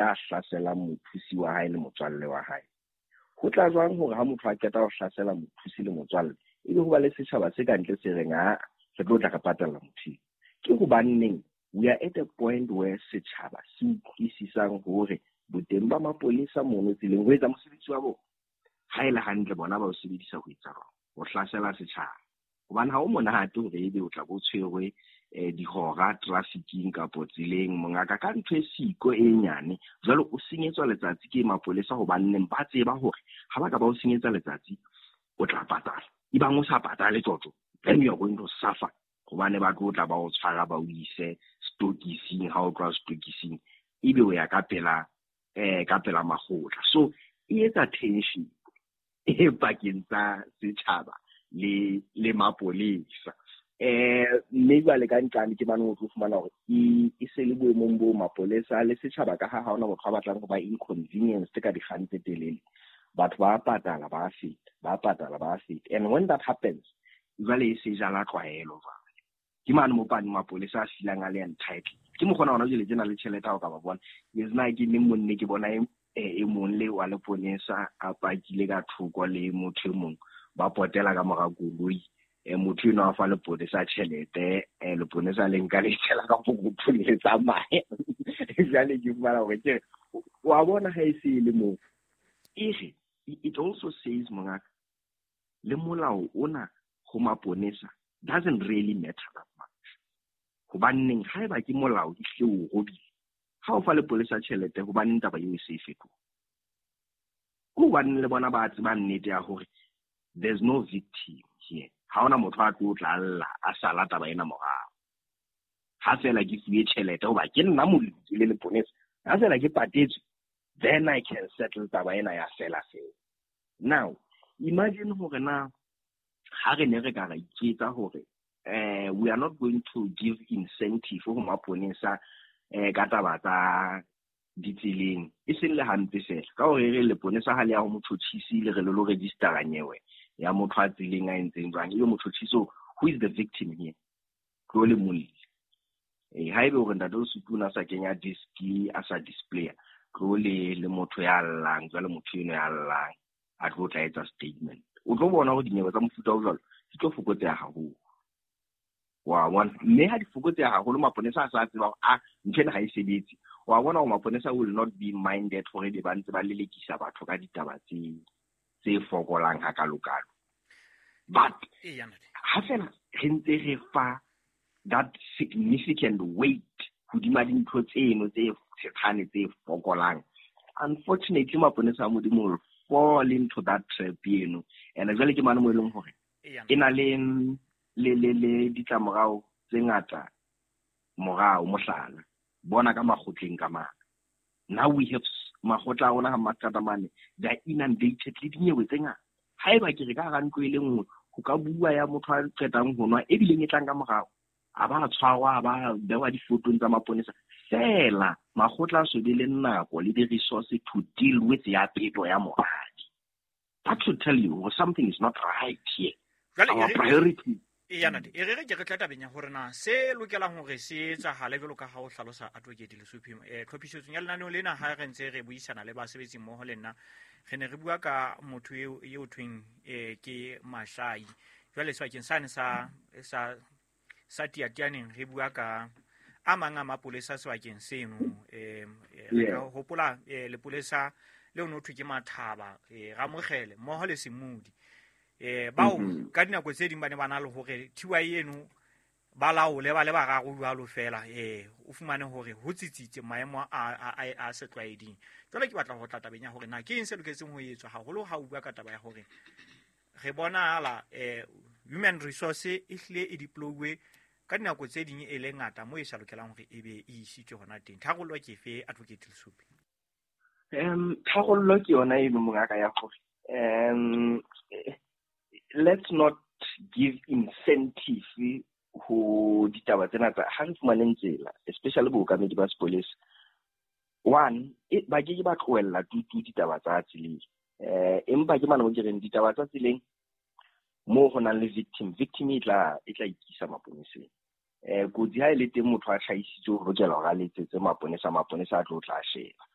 ya hlaselang mothusi wa hae le motswalle wa hae. Ho tla jwang hore ha motho a qeta ho hlasela mothusi le motswalle, ebe ho ba le setjhaba se ka ntle se reng a re tlo tla re patalla motho? Ke hobaneng we are at a point where setjhaba se utlwisisang hore boteng ba mapolesa mono tseleng ho etsa mosebetsi wa bona, ha e le hantle bona ba o sebedisa ho etsa jwang? Ho hlasela setjhaba. Hobane ha o monate hore ebe o tla bo tshwerwe dihora trafficking kapo tseleng, mongaka, ka ntho e siko e nyane. Jwale o senyetswa letsatsi ke mapolesa, hobanneng ba tseba hore ha ba ka ba o senyetsa letsatsi o tla patala. Ebang o sa patale tsotso, then you are going to suffer, hobane ba tlo tla ba o tshwara, ba o ise stokising. Ha o tloha stokising, ebe o ya ka pela makgotla. So e etsa tension e pakeng tsa setjhaba le mapolesa. Mme jwale ka nqane ke mane o tlo fumana hore e se le boemong bo mapolesa le setjhaba, ka ha hona motho a batlang ho ba inconvenienced ka dikgang tse telele. Batho ba patala, ba feta, ba patala, ba feta. And when that happens, jwale e se jala tlwaelo. Jwale ke mane mo pane mapolesa a feelang a le entitled. Ke mokgona hona jwale tjena le tjhelete ha o ka ba bona. Yes, na ke neng monne ke bona e mong le wa leponesa a pakile ka thoko le motho e mong, ba potela ka mora koloi. Motho eno a fa leponesa tjhelete, leponesa le nka le tshela ka pokothong, le tsamaya. Jwale ke fumana hore ke wa bona ha e se e le moo e re it also says, mongaka, le molao ona ho maponesa doesn't really matter that much, hobanneng haeba ke molao ehlile o robile ha o fa lepolesa tjhelete, hobaneng taba eo e se e fetoha? Ke hobaneng le bona ba tseba nnete ya hore there's no victim here. Ha hona motho a tlo tla lla a sala taba ena morao. Ha fela ke fuwe tjhelete hoba ke nna molemi, ke le leponesa, ha fela ke patetswe, then I can settle taba ena ya fela fela. Now imagine hore na ha re ne re ka ra iketsa hore we are not going to give incentive ho maponesa ka taba tsa ditseleng, e seng le hampe fela ka hore re leponesa ha le ya ho motjhotjhisi, le re le lo registera nyewe ya motho a tseleng a entseng jwang, ebe motjhotjhisi, who is the victim here? Tlo le molli. Haebe hore ntate o Sutu a sa kenya disc, a sa displaya, tlo le motho ya llang. Jwale motho eno ya llang a tlo tla etsa statement, o tlo bona hore dinyewe tsa mofuta o jwalo di tlo fokotseha haholo, wa bona. Mme ha di fokotseha haholo, maponesa a sa tseba hore a ntho ena ha e sebetse. Wa bona hore maponesa will not be minded hore be ba ntse ba lelekisa batho ka ditaba tse fokolang hakalokalo. But ha fela re ntse re fa that significant weight hodima dintho tseno tse tshetshane, tse fokolang, unfortunately maponesa a Modimo will fall into that trap eno. And jwale ke mane mo e leng hore e na le ditlamorao tse ngata morao. Mohlala, bona ka makgotleng ka mane. Now we have makgotla a rona ga mastrata mane, they are inundated le dinyewe tse ngata. Haeba ke re ka hara ntlo e le nngwe ho ka bua ya motho a qetang ho nwa, ebileng e tlang ka morao, a ba tshwarwa, a ba bewa difotong tsa maponesa fela, makgotla a so be le nako le di-resource to deal with ya peto ya moradi. That should tell you something is not right here. Our priority Eya ntate, e re re ke re tla tabeng ya hore na se lokelang hore se etsahale jwalo ka ha o hlalosa, Advocate Lesupi, tlhophisetsong ya lenaneo lena, ha re ntse re buisana le basebetsi mmoho le nna, re ne re bua ka motho eo thweng ke Mashai. Jwale sebakeng sane sa Tiatianeng, re bua ka a mang a mapolesa sebakeng seno. Re ka hopola lepolesa leo no thwe ke Mathaba, Ramogele mmoho le Semudi, bao ka dinako tse ding ba ne ba na le hore thiwa eno ba laole ba le bararo jwalo fela. O fumane hore ho tsitsitse maemo a setlwaeding. Jwale ke batla ho tla tabeng ya hore na ke eng se loketseng ho etswa, haholo ha o bua ka taba ya hore re bonahala human resource e hlile e deploywe ka dinako tse ding e le ngata mo e sa lokelang hore e be e isitswe hona teng. Tharollo ke efe, Advocate Lesupi? Tharollo ke yona eno, mongaka, ya hore let's not give incentive ho ditaba tsena tsa ha re fumaneng tsela, especially bookamedi ba sepolesa. One, ba ke ke ba tlohella tutu ditaba tsa tseleng, empa ke mane mo ke reng ditaba tsa tseleng moo ho nang le victim, victim e tla ikisa maponeseng. Kotsi ha e le teng, motho a hlahisitse, o lokela hore a letsetse maponesa, maponesa a tlo tla sheba.